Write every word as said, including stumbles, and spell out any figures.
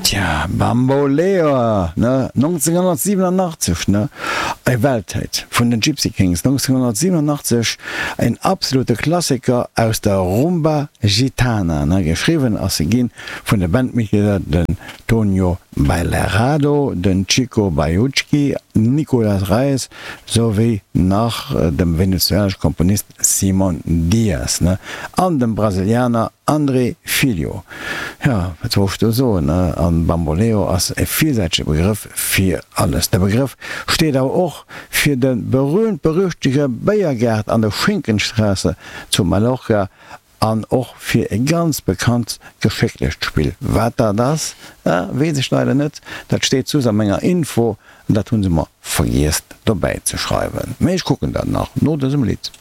Tja, Bamboleo, ne? nonzénghonnertsiwenanachtzeg, ne? E Welthit vun den Gipsy Kings, nonzénghonnertsiwenanachtzeg, en absolute Klassiker aus der Rumba Gitana, ne? Geschriwwen ass se gi vun de Bandmitglieder den Tonio Bailerado, den Chico Baiucchi, Nicolas Reyes souwéi nach dem venezuelanesche Komponist Simon Diaz, ne? An dem Brasilianer André Filho. Jo, wat soll ech do soen, ne? An Bamboleo ass e villsäitege Begrëff fir alles. De Begrëff steet awer och fir de berühmt-berüchtegte Béiergaart an der Schinkenstraße zu Mallorca an och fir e ganz bekannt Geschécklechtspill. Wat dat ass, weess ech leider net, dat steet soss a menger Info an dat hu se mer vergiess dobäi ze schreiwen. Mee ech kucken dat nach no dësem Lidd.